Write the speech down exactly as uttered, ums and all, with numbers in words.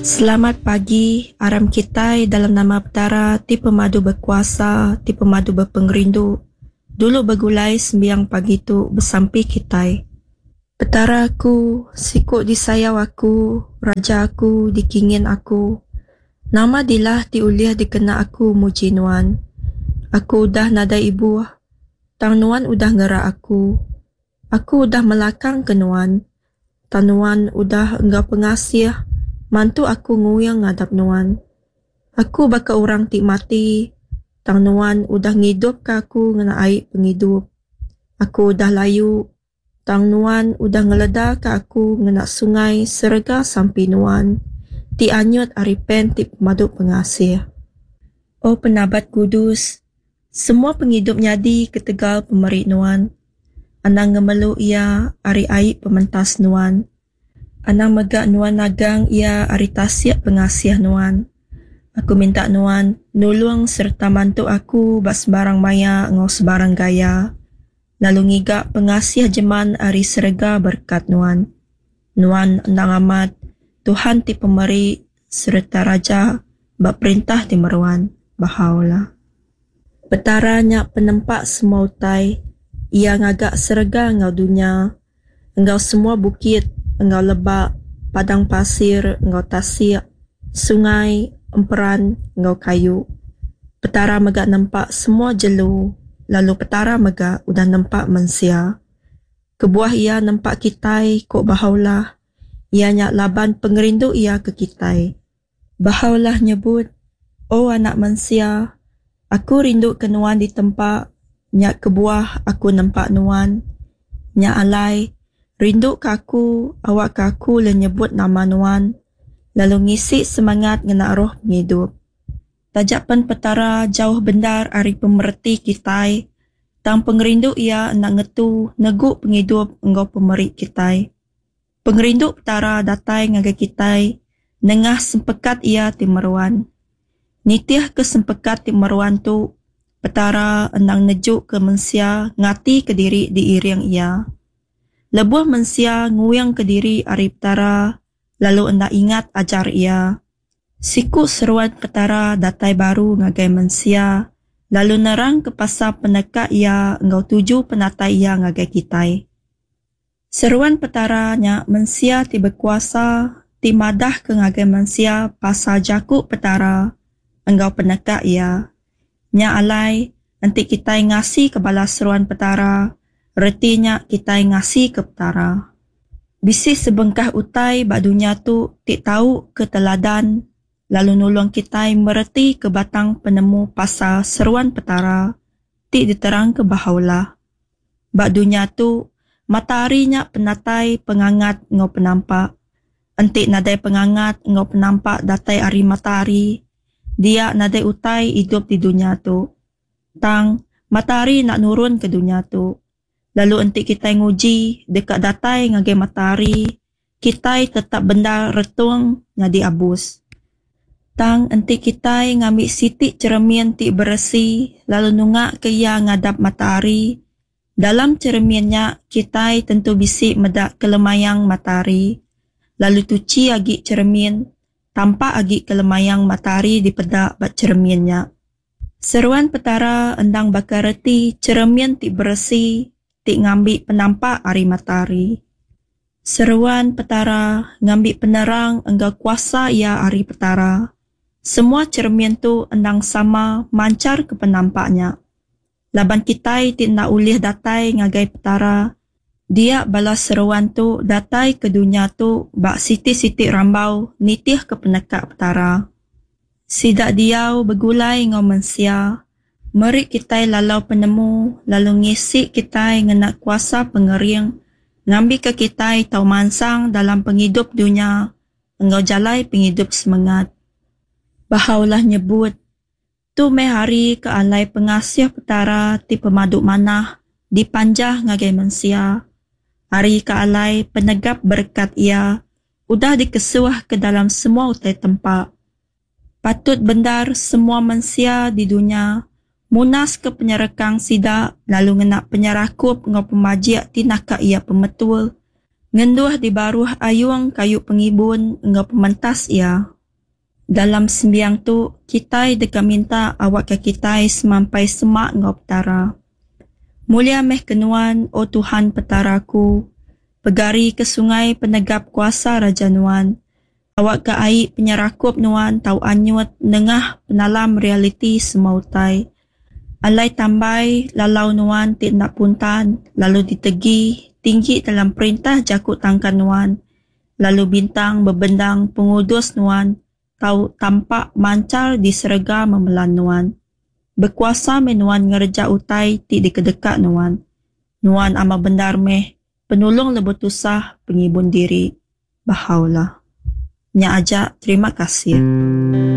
Selamat pagi, aram kitai dalam nama Petara ti pemadu bekuasa, ti pemadu bepengerindu, dulu begulai sembiang pagi tu besampi kitai. Petara aku, siku disayau aku, Raja aku, dikingin aku. Nama dilah ti ulih dikena aku muji Nuan? Aku udah nadai ibuh, tang Nuan udah ngerak aku. Aku udah melakangka Nuan, tang Nuan udah enggau pengasih mantu aku nguing ngadap Nuan. Aku baka orang ti mati, tang Nuan udah ngidupka aku ngena ai pengidup. Aku udah layu, tang Nuan udah ngeledaka aku ngena sungai serega sampi Nuan, ti anyut ari pen ti pemadu pengasih. O Penabat Kudus, semua pengidup nyadi ketegal pemeri Nuan. Anang ngemelu iya ari ai pementas Nuan. Anang mega Nuan nagang iya ari tasik pengasih Nuan. Aku minta Nuan nulung sereta mantu aku ba sebarang maya enggau sebarang gaya, lalu ngiga pengasih jeman ari serega berekat Nuan. Nuan endang amat Tuhan ti pemeri sereta Raja ba perintah ti meruan. Bahá'u'lláh. Petara nya penempa semua utai, Iya ngaga serega enggau dunya, enggau semua bukit enggau lebak, padang pasir enggau tasik, sungai, emperan enggau kayu. Petara mega nempa semua jelu, lalu Petara mega udah nempa mensia. Kebuah Iya nempa kitai, ku Bahá'u'lláh, iya nya laban pengerindu Iya ke kitai. Bahá'u'lláh nyebut, O anak mensia, Aku rindu ke nuan ditempa, nya kebuah Aku nempa nuan. Nya alai, rinduka Aku, awakka Aku ulih nyebut nama nuan, lalu ngisi semengat ngena roh pengidup. Taja pen Petara jauh bendar ari pemereti kitai, tang pengerindu Iya enda ngetu negu pengidup enggau pemeri kitai. Pengerindu Petara datai ngagai kitai nengah sempekat Iya ti meruan. Nitihka sempekat ti meruan tu, Petara endang nejuka mensia ngatika diri diiring Iya. Lebuh mensia nguingka diri ari Petara lalu enda ingat ajar Iya, siku seruan Petara datai baru ngagai mensia lalu nerangka pasal peneka Iya enggau tuju penatai Iya ngagai kitai. Seruan Petara nya mensia ti bekuasa ti madahka ngagai mensia pasal jaku Petara enggau peneka Iya. Nya alai, enti kitai ngasika bala seruan Petara, reti nya kitai ngasika Petara. Bisi sebengkah utai ba dunya tu ti tau ke teladan lalu nulung kitai meretika batang penemu pasal seruan Petara ti diterangka Bahá'u'lláh. Ba dunya tu, matahari nya penatai pengangat enggau penampak. Enti nadai pengangat enggau penampak datai ari matahari, dia nadai utai idup di dunya tu. Tang, matahari enda nurun ke dunya tu. Lalu enti kitai nguji deka datai ngagai matahari, kitai tetap bendar retung nyadi abus. Tang enti kitai ngambi siti cheremin ti beresi lalu nungaka iya ngadap matahari, dalam cheremin nya kitai tentu bisi meda kelemayang matahari. Lalu tuchi agi cheremin, tampak agi kelemayang matahari dipeda ba cheremin nya. Seruan Petara endang baka reti cheremin ti beresi ti ngambi penampak ari matahari. Seruan Petara ngambi penerang enggau kuasa iya ari Petara. Semua cheremin tu endang sama manchar ke penampak nya. Laban kitai ti enda ulih datai ngagai Petara, dia bala seruan tu datai ke dunya tu ba siti-siti rambau nitihka peneka Petara. Sida diau begulai enggau mensia, meri kitai lalau penemu lalu ngisi kitai ngena kuasa pengering ngambika kitai tau mansang dalam pengidup dunya enggau jalai pengidup semengat. Bahá'u'lláh nyebut, Tu meh hari ke alai pengasih Petara ti pemadu manah dipanjah ngagai mensia. Hari ke alai penegap berekat Iya udah dikesuh ke dalam semua utai tempa. Patut bendar semua mensia di dunya munaska penyerekang sida lalu ngena penyerakup enggau pemajik ti naka iya pemetul, ngenduh di baruh ayung kayu pengibun enggau pementas Iya. Dalam sembiang tu, kitai deka minta awakka kitai semampai semak enggau Petara. Mulia meh ke nuan, O Tuhan Petara aku, pegari ke sungai penegap kuasa Raja nuan. Awakka ai penyerakup nuan tau anyut nengah penalam realiti semua utai. Alai tambai lalau nuan ti enda puntan, lalu ditegi tinggi dalam perintah jaku tangkan nuan, lalu bintang bebendang pengudus nuan tau tampak manchar di serega memelan nuan. Bekuasa meh nuan ngereja utai ti dikedeka nuan. Nuan amat bendar meh penulung lebuh tusah pengibun diri. Baha'u'llah. Nya aja, terima kasih.